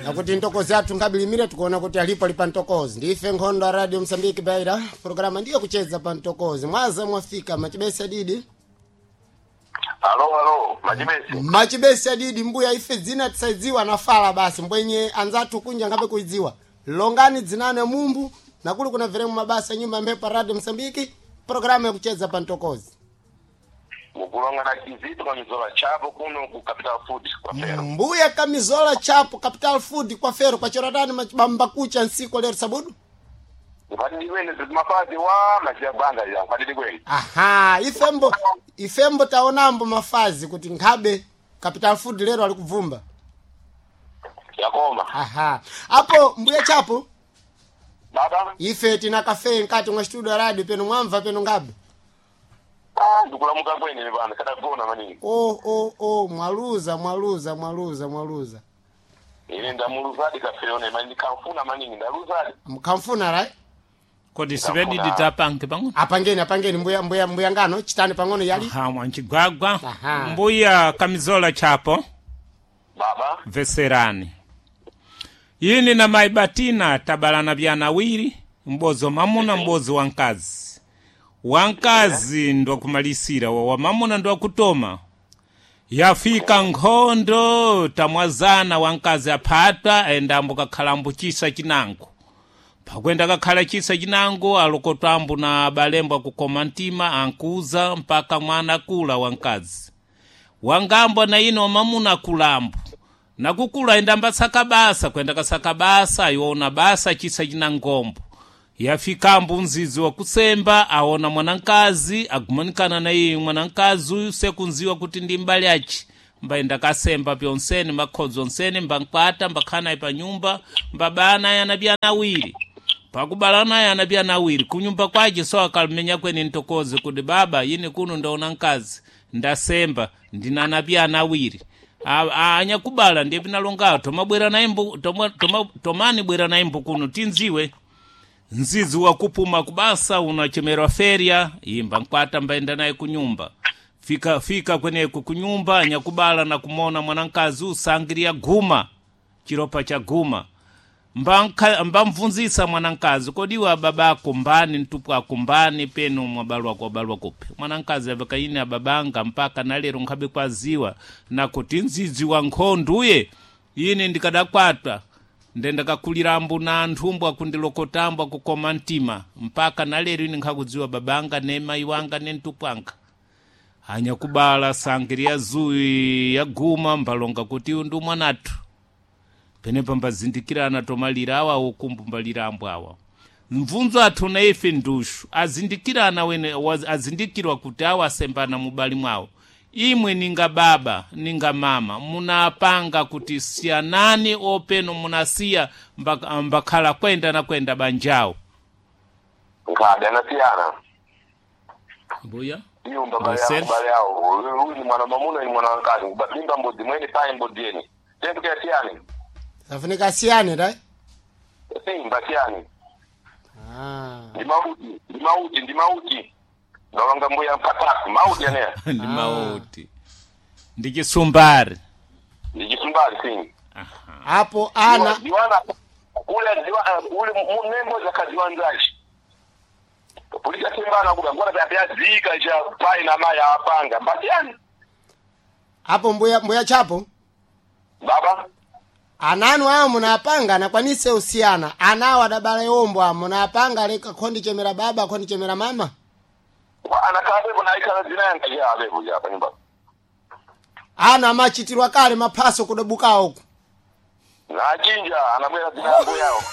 Nakuti ntokozi athu ngabilimire tikuona kuti alipo ali pa ntokozi. Ndife nkhondo ya Radio Msambiki Beira, programa ndiyo kucheza pa ntokozi. Mwaza mwafika machibesi adidi. Alo, alo, machibesi. Machibesi adidi mbuya ife dzina tisaidziwa nafala basi mbwenye anzathu kunja ngabe kuidziwa. Longani dzinane mumbu nakuli kuna veremu mabasa nyumba mphepo Radio Msambiki, programa yakucheza pa ntokozi. Mukulonga na kizito kamizola chapo kuno ku Capital Food kwa Fero. Mbuya kamizola chapo Capital Food kwa Fero kwa choratani machibamba kucha nsiku lero sabudu. Mpatidi kwene zimafazi wa machiya banda ya mpatidi kwene. Aha, ifembo taonambo mafazi kuti nkhabe Capital Food lero alikubvumba. Yakoma. Aha. Apo mbuya chapo Baba, ife tina kafe nkati mwa studio ya radio peno mwamva peno ngabe. ah, ndikulamuka kwene ne bana kadagona maningi. O o o mwaluza mwaluza mwaluza mwaluza. Ine ndamuluzadi kafeyo ne mani kamfuna maningi ndaluzadi. Mkamfuna right? Kodi sivedidi tapange pang'ono. Apangeni apangeni mbuya mbuya mbuya ngano chitani pang'ono yali. Aha, mwanchigwagwa. Aha. Mbuya kamizola chapo. Baba, Veserani. Yini na maibatina tabalana vyana wiri, mbozo mamuna mbozo wankazi. Wankazi ndo kumalisira wa mamuna ndo kutoma. Yafika nkhondo tamwazana wankazi aphatwa endambo kakhalambo chisa chinango. Pakwenda kakhala chisa chinango alokotwambo na balembo akukoma mtima ankuza mpaka mwana akula wankazi. Wangambwa na ino mamuna akulambo. Nakukula endamba saka basa kwenda kasaka basa iwona basa chisa china ngombo. Yafikambo mzizi wa kusemba aona mwanankazi agumanikana na iye mwanankazi uyu sekunziwa kuti ndi mbali achi mbaenda kasemba pyonsene makhodzo onsene mbankwata mbakhana pa nyumba mbabana yana byana awiri pakubalana yana byana awiri kunyumba kwace so akalumenya kweni ntokoze kuti baba yini kuno ndaona nkazi ndasemba ndinana byana awiri anyakubala ndiye pinalongawo tomabwera naye mbu tomani bwera naye mbu kuno tinziwe nzizi wakupuma kubasa unachemerwa feria imba nkwata mbaenda naye kunyumba fika fika kweneko kunyumba anyakubala na kumona mwanankazi usangiria guma chiropa cha guma mbamvunzisa mwanankazi kodiwa babako mbani mtupu ako mbani penu mwabalwa kwabalwa kupi mwanankazi avakaine ababanga mpaka nalero nkhabe kwaziwa nakuti nzizi wa nkhonduye ine ndikadakwatwa ndendakakulirambo na anthu akundilokotambo akukoma mtima mpaka nalero ine nkhakudziwa babanga ne mayi wanga ne mtupu anga anyakubala sangiria zuyi yaguma mbalonga kuti uyu ndi mwanathu penepa mbazindikirana tomalira awa ukumbu mbalira ambo awa mvunzo athu na ife ndushu azindikirana wene azindikirwa kuti awa asembana mubali mwawo imwe ninga baba ninga mama munapanga kuti siyanani openo munasiya mbakhala kwenda na kwenda banjawo nkhadi anasiyana. mbuya Nyumba bale Marcel. yao bale yao. Huyu ni mwana mamuna ni mwana wankazi. Mimba mbodzi mwene paye mbodzi yene. Tendo kia siyani. Safunika siyane right? Simba siyani. Ah. Ndi mauti, ndi mauti, ndi mauti. Ndalonga mbuya mpataku, mauti aneya. ndi mauti ndi chisumbari Ndi chisumbali sini. Apo ana Diwana kule diwana kule munembo za kaziwanzaji. Polisi simbana kuda ngona pya zika cha pai na maya apanga. Mbatiani. apo mbuya mbuya chapo Baba, ananu awo munapanga anakwanise usiyana anawo adabala iwombo awo munapanga leka khondi chemera baba khondi chemera mama kwa anakabepo na ikala zina yanga ya abepo ya pa nyumba. ana amachitirwa kale maphaso kudabuka uku Na chinja anabwera zina yangu yao.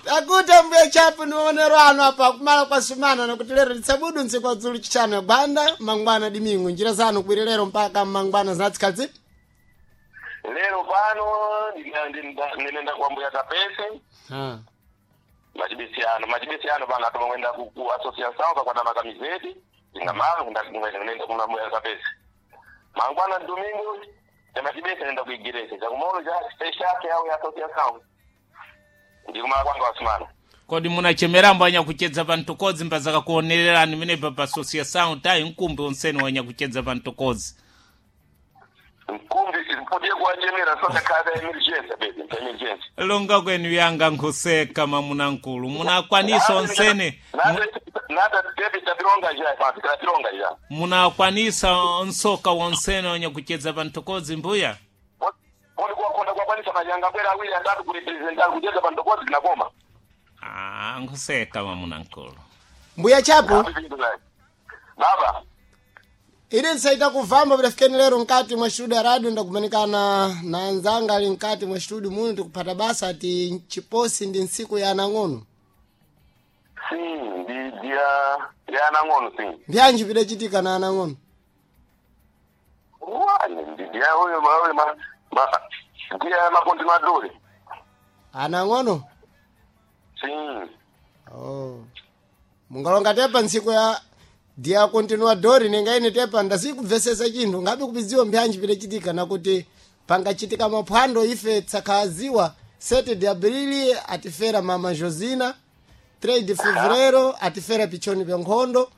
takuti mbuya chapo nionero anu apa kumala kwa sumana nakuti lero litsabudu ntsiku adzulu chitano ya gwanda mangwana dimingu njira zanu kubwere lero mpaka mangwana zinatsikadzi Lero pano ndinenda kwa mbuya kapese. Machibisiano, machibisiano pano atomwenda ku ku association kakwata makamizeti. Ndingamala kunda kuna mbuya kapese. Mangwana domingo ya machibisi nenda ku igreja. Chakumolo cha special yao ya association. Ndikumala kwanga wasimana. kodi munachemerambo anyakuchedza pa ntokozi mbazakakuonererani menepa pa associação tayi mkumbi onsene wanyakuchedza pa ntokozi Mkumbi Mpodie kuwachemera soka kada emergency baby, emergency. Longa kwenu yanga nkhuseka mamunankulu munakwanisa onsene. Nada tebi tapironga ja, tapironga ja. Munakwanisa nsoka wonsene onye kucheza pantokozi mbuya. Kodi kwakonda kwakwanisa manyanga bwera awiri atatu kurepresenta kucheza pantokozi tinakoma. Ah, nkhuseka mamunankulu. Mbuya Chapo, Baba, ili nsaita kuvamba vidafikeni lero mkati mwa studio ya radio ndakumanikana na anzanga ali mkati mwa studio muno tikupata basa ati chiposi ndi ntsiku ya anang'ono. si ndi dia ya nang'ono si. Mbyanji vidachitika na anang'ono? Wani ndi dia uyo ma uyo ma ma dia makondi maduri. Anang'ono? Si. Oh. Mungalonga tepa ntsiku ya dia continuadori nenga ine tepa ndasikubvesesa chinthu ngabe kupidziwa mbyanji vidachitika nakuti pangachitika maphwando ife tsakhaziwa 7 de abrili atifera mama Josina, 3 de fevereiro atifera pichoni pya nkhondo,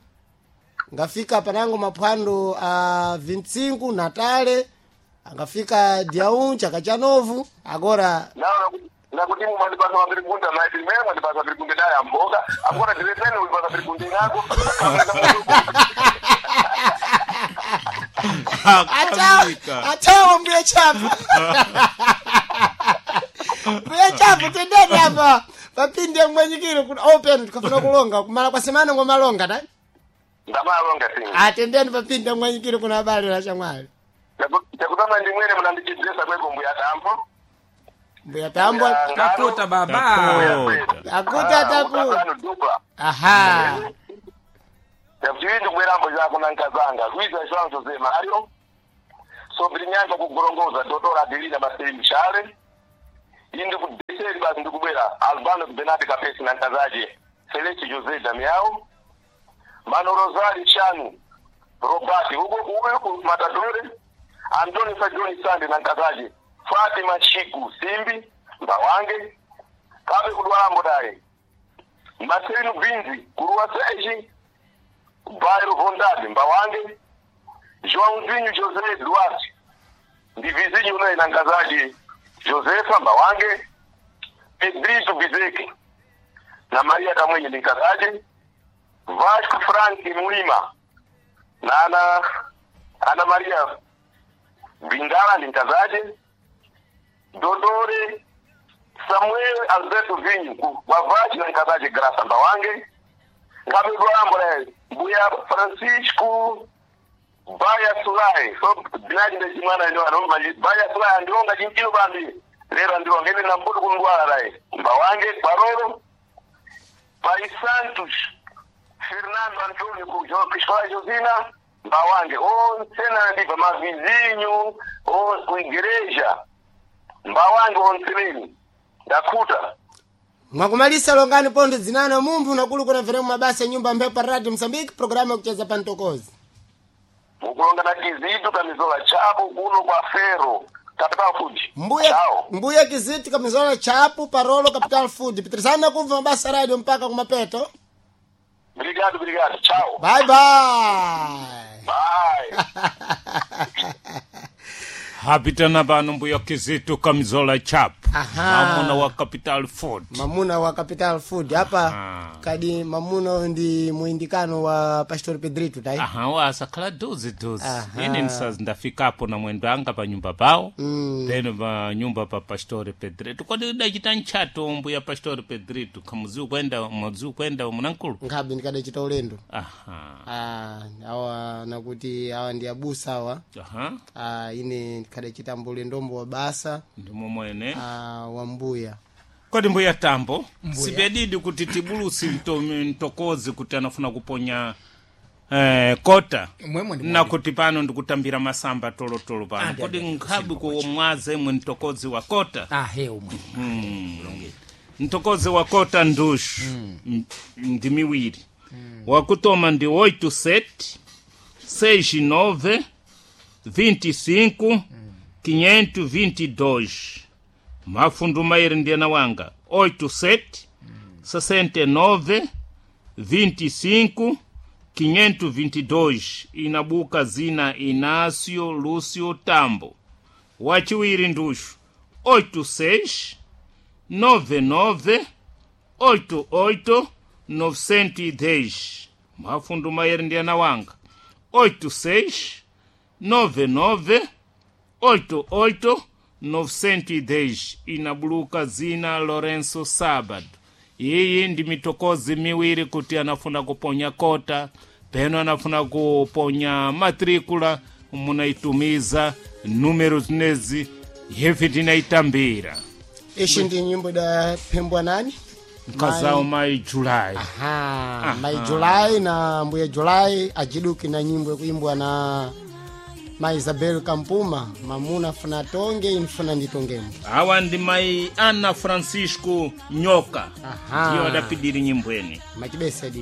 ngafika panango maphwando a 25 natale angafika dia 1 chaka cha novu agora. Naona nakuti mumandipasa mapirikunda maiti mwe mwandipasa pirikunde daya mboga akona diretene ulipasa pirikunde nako. Akamika. Atawa mbuya Chapo, mbuya Chapo, tendeni apa papinde mwenyikiro kuti open tikafuna kulonga kumala kwa semana ngomalonga ta. Ndamalonga si. Atendeni papinde mwenyikiro kuna abale la chamwali. Chakutama ndi mwene munandichidzesa kweko mbuya Tambo. Mbuya Tambo. Takuta baba. Takuta. Akuta takuta. Dupa. Aha. Yakuti ndikubwerambo chako nankazanga Luiza João José Mário Sobrinhanga kugorongoza Doutora Adelina Marcelo Mchale indi kudeseri basi ndikubwera Albano Benati Kapesi nankazaje Celeste José Damião Mano Rosário Chanu Robati uko uko ku Matadore Antônio Sajoni Sande nankazaje Fatima Chiku Simbi Mbawange Kabe kudwalambo daye Marcelino Binzi Kuruwa Seji Bairro Bondade, Mbawange, Joãozinho José Duarte, ndi vizinho unoyi na nkazaji Josefa Mbawange, Pedrito Bizeke na Maria Kamwenye ndi nkazaji, Vasco Frank Mulima na Ana Maria Bindala ndi nkazaji, Dodore Samuel Alberto Vinho wa Vasco na nkazaji Graça Mbawange, ngabedwambo mbuya Francisco Baya Sulai so binaji ndechimwana ndo anomba Baya Sulai andionga chinchilo bambi lero andionga ine nambudu kundwala lai Mbawange Kwaroro Pai Santos Fernando Antonio Kujo Cristóvão Josina Mbawange onse ndipa mavizinho o kuigreja Mbawange onseneni ndakuta. Mwakumalisa longani pondo dzinana mumphu nakulu kuna veremu mabasa ya nyumba mphepo radio Mozambique programu yakucheza pantokozi. Mukulonga na Kizito Kamizola Chapo kuno kwa Fero Capital Food. Mbuya Chao. mbuya Kizito Kamizola Chapo parolo Capital Food pitirizana kumva mabasa radio mpaka kumapeto. Obrigado, obrigado. Tchau. Bye bye. Bye. Hapitana pano mbuya Kizito Kamizola Chapo Aha. mamuna wa Capital Food. Mamuna wa Capital Food apa. Aha. Kadi mamuna ndi muindikano wa Pastor Pedrito tai. Aha, wasakhala duzi duzi. Aha. Ine ndisazi ndafikapo na mwendo anga pa nyumba pawo. Then pa nyumba pa Pastore Pedrito kodi udachita ntchato mbuya Pastore Pedrito kamuzi kwenda mudzi kwenda munankulu. Nkhabe ndikadachita ulendo. Aha. Ah, awa nakuti awa ndi abusa awa. Aha. Ah, ine ndikadachita mbulendombo wa basa Ndimo mwene. ah, wa mbuya. Kodi mbuya Tambo, sipedidi kuti tibulusi mtokozi kuti anafuna kuponya kota Mwemwe ndi na kuti pano ndikutambira masamba tolotolo pano. Andi, Kodi andi, nkhabi kusimba kumwaza imwe mtokozi wa kota. Ahe umwe. Mtokozi wa kota ndushu ndi miwiri. Wakutoma ndi 87 69 25 522. Mafundu mairi ndiyana wanga 87 69 25 522 inabuka zina Inácio Lúcio Tambo. Wachiwiri ndushu 86 99 88 910. Mafundu mayeri ndi ana wanga 86 99 88 910 inabuluka zina Lorenzo Sabado. Iyi ndi mitokozi miwiri kuti anafuna kuponya kota peno anafuna kuponya matricula, munaitumiza numero zinezi hevi tinaitambira. Ishi ndi nyimbo idaphembwa nani? Mkazawo mai Julai. Aha, mai Julai na mbuya Julai ajiduki na nyimbo yakuimbwa na mai Isabel Kampuma, mamuna funa tonge infuna nditongemo. Awa ndi mai Ana Francisco Nyoka. Aha. Ndiyo adapidiri nyimbweni. Machibesedi.